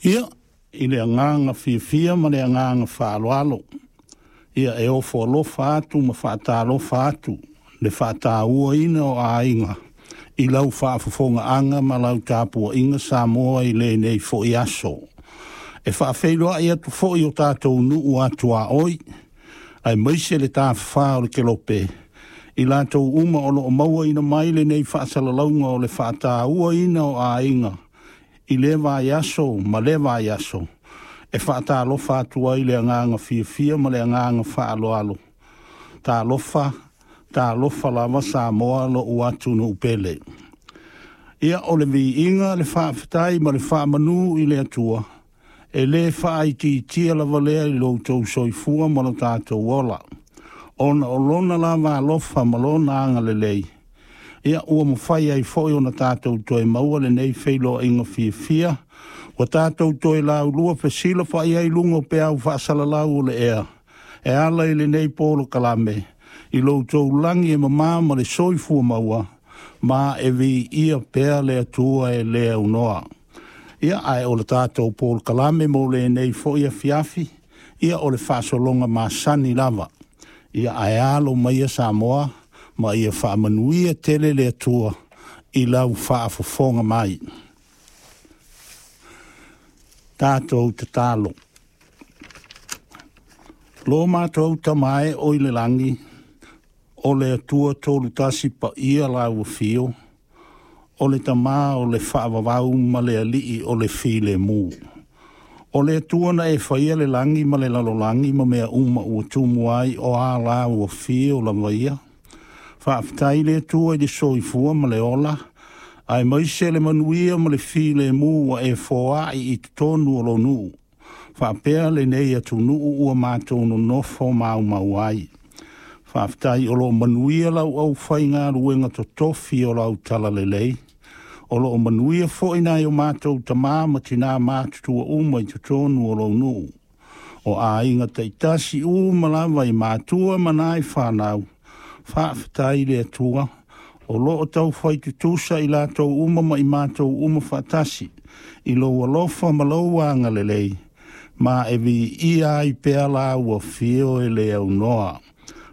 Ia, i le agaga fiafia ma le agaga faaaloalo, ia e ofo alofa atu ma faatalofa atu le faatauaina o aiga i lau faafofogaaga ma lau tapuaiga Samoa i lenei foi aso. E faafeiloai atu foi o tatou nuu atuaoi, aemaise le tafafā o le Kelope, i latou uma o loo mauaina mai lenei faasalalauga o le faatauaina o aiga i lea vaiaso ma lea vaiaso, e faatalofa atu ai le agaga fiafia ma le agaga faaaloalo. Talofa, talofa lava Samoa lo'u atunuu pele. Ia o le viiga, le faafetai ma le faamanu i le Atua, e lē faaitiitia lava lea i lo outou soifua ma lo tatou ola, ona o lona lava alofa ma lona agalelei, ia ua mafai ai foi ona tatou toe maua lenei feiloaiga fiafia, ua tatou toe laulua fesilafa'i ai i luga o peau faasalalau o le ea, e ala i lenei polokalame, i lo outou lagi e mama ma le soifua maua, ma e viia pea le Atua e le aunoa. Ia, ae o le tatou polokalame mo lenei foi afiafi, ia o le faasologa masani lava. Ia ae alo maia Samoa, ma ia faamanuia tele le Atua i lau faafofoga mai. Tatou tatalo. Lo matou Tama e o i le lagi, o le Atua tolu tasi paia lau afio, o le Tama o le faavavau ma le Alii o le filemu. O le Atua na e faia le lagi ma le lalolagi ma mea uma ua tumu ai o a lau afio lava ia. Faafetai le Atua i le soifua ma le ola, aemaise le manuia ma le filemu ua e foai i totonu o lou nuu, faapea lenei atunuu ua matou nonofo maumau ai. Faafetai o loo manuia lau aufaigaluega totofi o lau talalelei, o loo manuia foi nai o matou tamā ma tinā matutua uma i totonu o lou nuu, o aiga taitasi uma lava i matua ma nai fanau. Faafetai le Atua o loo taufai tutusa i latou uma ma i matou uma faatasi i lou alofa ma lou agalelei, ma e viia ai pea lau afio e le aunoa.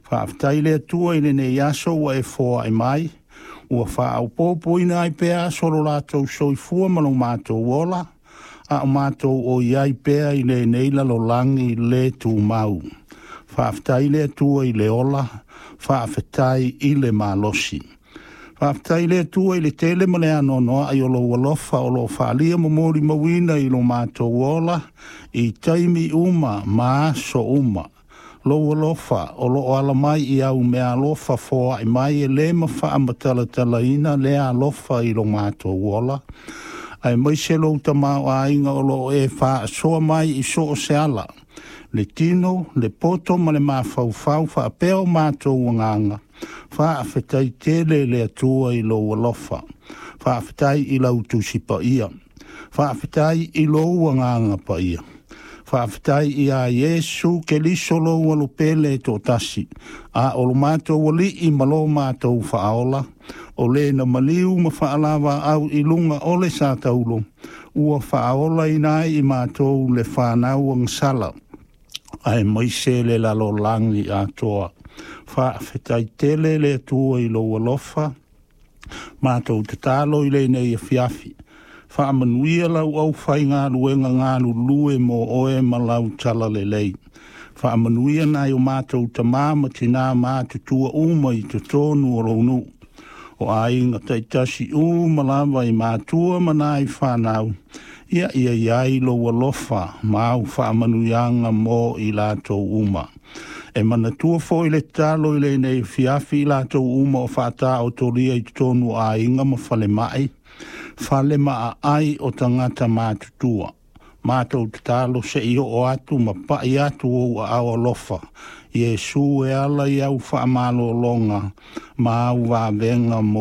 Faafetai le Atua i lenei aso ua e foai mai, ua faaopoopoina ai pea aso o lo latou soifua ma lo matou ola, a o matou o i ai pea i lenei lalolagi le tumau. Faafetai le Atua i le ola, faafetai i le malosi. Faafetai le Atua i le tele ma le anoanoa'i o lou alofa o loo faaalia ma molimauina i lo matou ola i taimi uma ma aso uma. Lou alofa o loo ala mai i au meaalofa foa'i mai e lē mafaamatalatalaina lea alofa i lo matou ola, aemaise lou tamaoaiga o loo e faasoa mai i so o se ala, le tino, le poto ma le mafaufau faapea o matou agaga. Faafetai tele le Atua i lou alofa. Faafetai i lau Tusi Paia. Faafetai i lou Agaga Paia. Faafetai iā Iesu Keliso lou Alopele e toatasi, a o lo matou Alii ma lo matou Faaola, o le na maliu ma faalavāau i luga o le sātaulo, ua faaolaina ai i matou le fanau agasala, aemaise le lalolagi atoa. Faafetai tele le Atua i lou alofa. Matou tatalo i lenei afiafi. Faamanuia lau aufaigaluega galulue mo oe ma lau talalelei. Faamanuia nai o matou tamā ma tinā matutua uma i totonu o lou nuu, o aiga taitasi uma lava i matua ma nai fanau, ia ia i ai lou alofa ma au faamanuiaga mo i latou uma. E manatua foi le tatalo i lenei afiafi i latou uma o faataotolia i totonu o aiga ma falemai, fale maaai o tagata matutua. Matou tatalo se i oo atu ma pai atu ou aao alofa, Iesu, e ala i au faamalologa ma au vavega mo